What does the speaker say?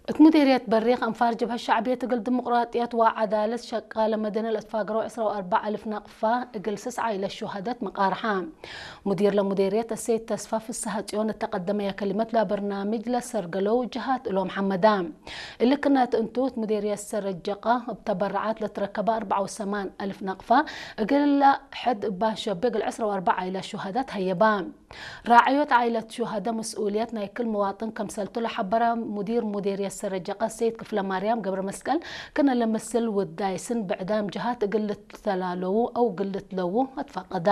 እት ሙዴርየት በሪኽ ኣንፋር ጀብሀት ሸዕብየት እግል ድሙቅራጥየት ወዓዳለት ሸቃለ መደነ ለትፋገረው ዕስራ ወአርባዕ አልፍ ናቅፋ እግል ስስዓ ኢለ ሹሃደት መቃርሓ። ሙዲር ለሙዴርየት እሴት ተስፋ ፍስሃ ጽዮን እተቀደመያ ከሊመት ለበርናምጅ ለሰርገለው ጀሃት እሎም ሐመዳ። እልክነት እንቱ እት ሙዴርየት ሰረጀቃ እብ ተበረዓት ለትረከበ አርባዓ ወሰማን አልፍ ናቅፋ እግል ሕድ እባ ሸቤ እግል ዕስራ ወአርባዕ ኢለ ሹሃደት ሀየባ። ራዕዮት ዓኢለት ሹሃደ መስኡልየት ናይ ክል መዋጥን ከምሰልቱ ለሐበረ ሙዲር ሙዴርየት ሰረጀቀ ሰይድ ክፍለማርያም ገብረመስቀል፣ ክነ ለመስል ውዳይስን ብዕዳም ጀሃት እግል ልትተላለዉ አው እግል ልትለዉ አትፈቀዳ።